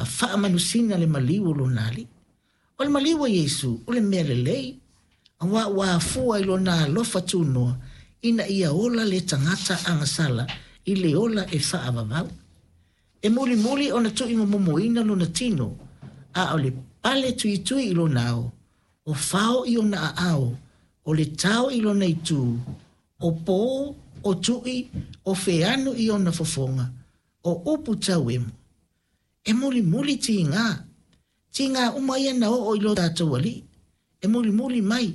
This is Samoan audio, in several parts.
faamanusina le maliu o lona Alii. O le maliu o Iesu o le mea lelei, auā ua afua i lona alofa tunoa ina ia ola le tagata agasala i le ola e faavavau. E mulimuli ona tuuimomomoina lona tino, a o le pale tuitui i lona ao, o fao i ona aao, o le tao i lona itu, o pō, o tui, o feanu i ona fofoga, o upu tauemo. E mulimuli tiga, tiga uma ia na oo i lo tatou Alii, e mulimuli mai,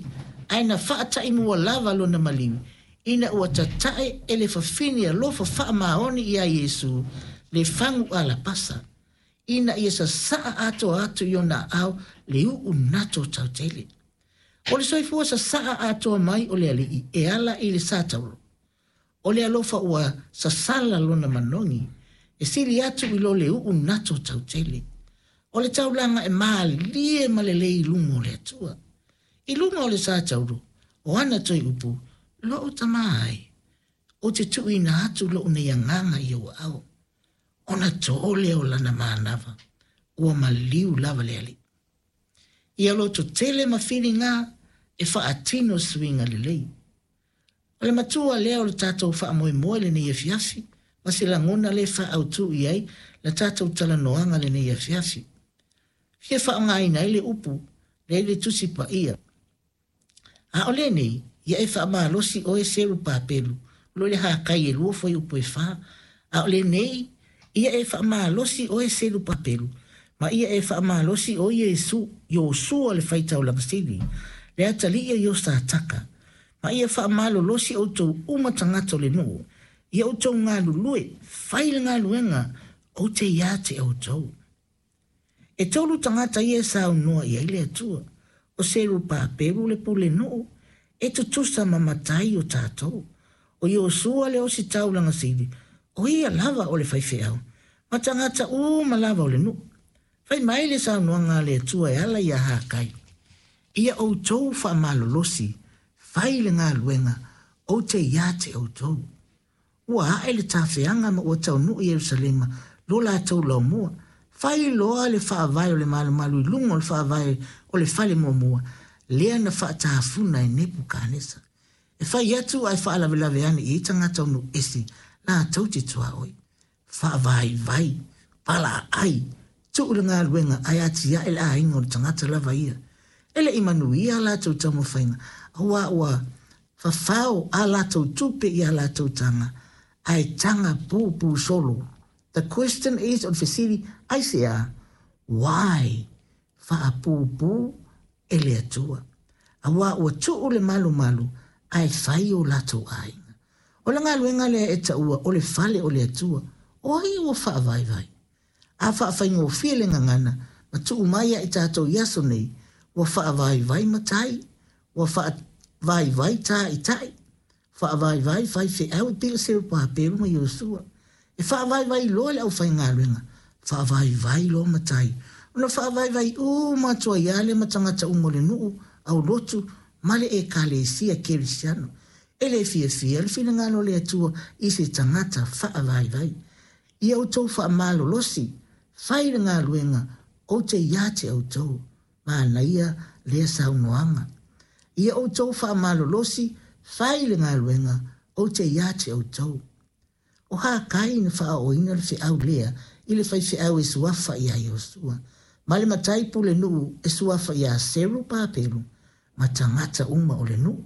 ae na faataimua lava lona maliu, ina ua tatae e le fafine alofa faamaoni iā Iesu le fagu alapasa, ina ia sasaa atoa atu i ona aao le uu nato tautele. O le soifua sasaa atoa mai o le Alii e ala i le sa taulo. O le alofa ua sasala lona manogi, e sili atu i lo le uu nato tautele. O le taulaga e malie ma lelei i luga o le Atua. I luga o le sa taulo, o ana toe upu, Lou Tama e, ou te tuuina atu lou nei agaga i ou aao. Ona tō lea o lana manava, ua maliu lava le Alii. Ia lototele ma filiga e faatino suiga lelei. O le matua lea o le tatou faamoemoe lenei afiafi, ma se lagona lea e faaautu i ai la tatou talanoaga lenei afiafi. Fia faaaogaina ai le upu lea i le Tusi Paia. A o lenei, ia e faamalosi oe Serupapelu, o lo o i le Hakai e 2 fuaiupu e 4. A o lenei, ia e faamalosi oe Serupapelu, ma ia e faamalosi oe Iesu, Iosua le faitaulaga sili, le atalii o Iosataka, ma ia faamalolosi outou uma tagata o le nuu, ia outou galulue, fai le galuega, ou te ia te outou. E tolu tagata ia e saunoa i ai le Atua. O Serupapelu le pulenuu, e tutusa ma matai o tatou. O Iosua le ositaulaga sili, o ia lava o le faifeau, ma tagata uma lava o le nuu. Fai mai le saunoaga a le Atua e ala iā Hakai, Ia outou faamalolosi, fai le galuega, ou te ia te outou. Ua ae le tafeaga ma ua taunuu i Ierusalema lo latou laumua. Fai loa le faavae o le malumalu i luga o le faavae o le fale muamua, lea na faatafuna e Nepukanesa. E fai atu ae faalavelave ane i ai tagata o nuu ese latou te tuaoi. Faavaivai, palaaai, tuu le galuega ae atiae le aiga o le tagata lava ia. E le i manuia a latou taumafaiga, aua ua fafao a latou tupe i a latou taga, ae taga puupuu solo. The question is, o le fesili, aisea? Why? Faapuupuu e le Atua. Aua ua tuu le malumalu ae fai o latou aiga. O le galuega lea e taua o le fale o le Atua, o ai ua faavaivai? A faafaigofie le gagana ma tuu mai ia i tatou i aso nei, ua faavaivai matai, ua faavaivai taitai, faavaivai faifeau e pei o Serupapelu ma Iosua. E faavaivai loa le aufaigaluega, faavaivai loa matai, ona faavaivai uma atu ai lava lea ma tagata uma o le nuu, aulotu ma le Ekalesia Kerisiano. E le fiafia le finagalo o le Atua i se tagata faavaivai. Ia outou faamalolosi, fai le galuega, ou te ia te outou. Manaia lea saunoaga. Ia outou faamalolosi, fai le galuega, ou te ia te outou. O Hakai na faaooina le feau lea i le faifeau e suafa iā Iosua, ma le matai pulenuu e suafa iā Serupapelu ma tagata uma o le nuu.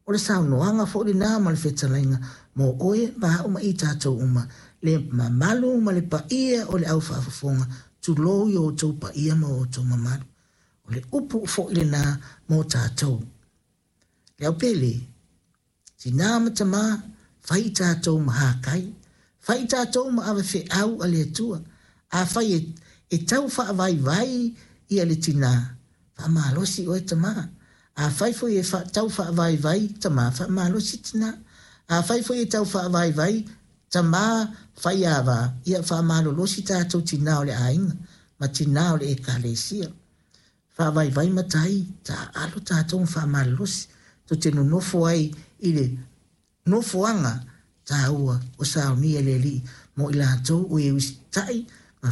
O le saunoaga foi lena ma le fetalaiga mo oe ma a'u ma i tatou uma, le mamalu ma le paia o le au faafofoga, tulou i o outou paia ma o outou mamalu. O le upu foi lena mo tatou. Le au pele, tinā ma tamā, fai i tatou ma Hakai, fai i tatou ma ave feau a le Atua. Afai e, e tau faavaivai ia le tinā, faamalosi oe tamā. Afai foi e tau faavaivai tamā, faamalosi tinā. Afai foi e tau faavaivai tamā faiava, ia faamalolosi tatou tinā o le aiga ma tinā o le Ekalesia. Faavaivai matai, taaalo tatou ma faamalolosi, tou te nonofo ai i le nofoaga taua o saunia e le Alii mo i latou o e usitai ma.